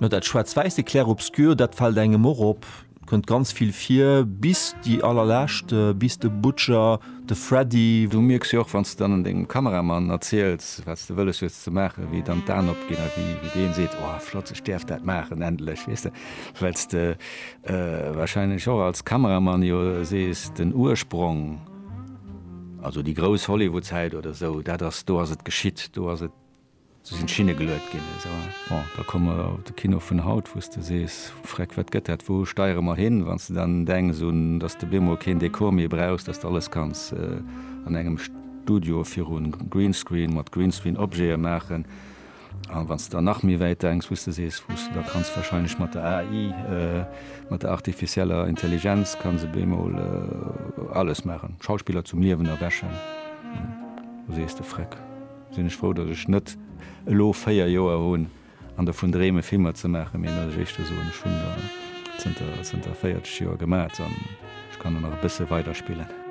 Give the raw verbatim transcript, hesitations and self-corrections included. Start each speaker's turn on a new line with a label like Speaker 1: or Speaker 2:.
Speaker 1: Jo, dat Schwaarz-Wäisse, Clair-obscur, dat fält engem och op, kënnt ganz vill vir, bis déi allerlescht, bis de Butcher, de Freddy.
Speaker 2: Du mierks jo och, wann s de dann dengem Kameramann erziels, wat s de wëlles hues ze maachen, wéi dann d'Aen opginn a wéi wéi deen seet, Oh, flott, ech däerf dat maachen, endlech, weess de, well s de warscheinlech och als Kameramann jo sees, den Ursprong, also déi grouss Hollywood-Zäit oder esou, dat ass, do ass et geschitt, do ass et. Do sinn d'Schinne geluet ginn. Esou. Bon, da komme mer op de Kino vun haut, wou s de sees, Freck, wat gëtt dat, wou steiere mer hin? Wann s de dann denks un, datt s de bemol keen Dekor méi brauchs, datt s de alles kanns an engem Studio viru Greenscreen mat Greenscreen-Objete maachen. A wann s de dann nach méi wäit denks, wou s de sees, wou s de da kanns wahrscheinlech mat der A I, mat der artificieller Intelligenz kanns e bemol alles maachen, Schauspiller zum Liewen erwächen, do sees de, Freck. Sinn ech frou, datt ech net elo véier Joer hunn an dovun dreeme Filmer ze maachen, mee datt ech éischter soen, ech hunn der zënter zënter véierzeg Joer gemat an ech kann der nach e bësse weider spillen.